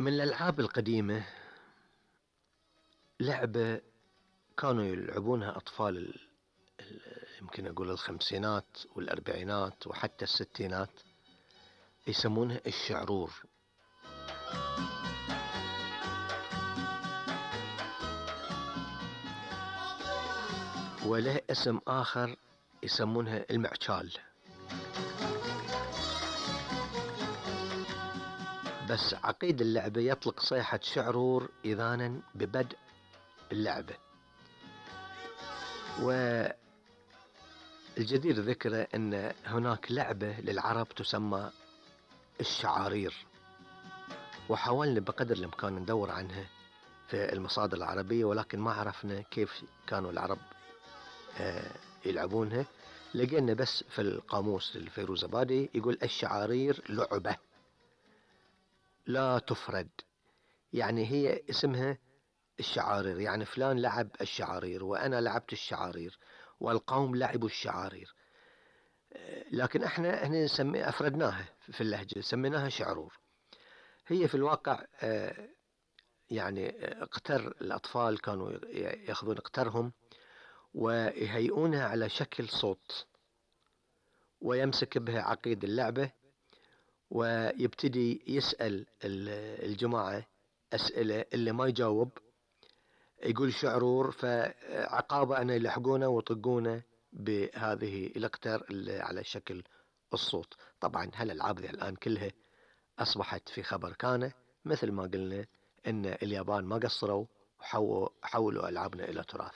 من الألعاب القديمة لعبة كانوا يلعبونها أطفال يمكن أقول الخمسينات والأربعينات وحتى الستينات، يسمونها الشعرور. وله اسم آخر يسمونها المعشال. بس عقيد اللعبة يطلق صيحة شعرور إذانا ببدء اللعبة. والجدير ذكره أن هناك لعبة للعرب تسمى الشعارير، وحاولنا بقدر الإمكان ندور عنها في المصادر العربية، ولكن ما عرفنا كيف كانوا العرب يلعبونها. لقينا بس في القاموس الفيروزابادي يقول الشعارير لعبة لا تفرد، يعني هي اسمها الشعارير، يعني فلان لعب الشعارير وأنا لعبت الشعارير والقوم لعبوا الشعارير، لكن احنا أفردناها في اللهجة سميناها شعرور. هي في الواقع يعني اقتر الأطفال كانوا يأخذون اقترهم ويهيئونها على شكل صوت، ويمسك بها عقيد اللعبة ويبتدي يسأل الجماعة أسئلة، اللي ما يجاوب يقول شعرور، فعقابة أن يلحقونه ويطقونه بهذه الأقتار اللي على شكل الصوت. طبعا هالألعاب الآن كلها أصبحت في خبر كان، مثل ما قلنا إن اليابان ما قصروا وحولوا ألعابنا إلى تراث.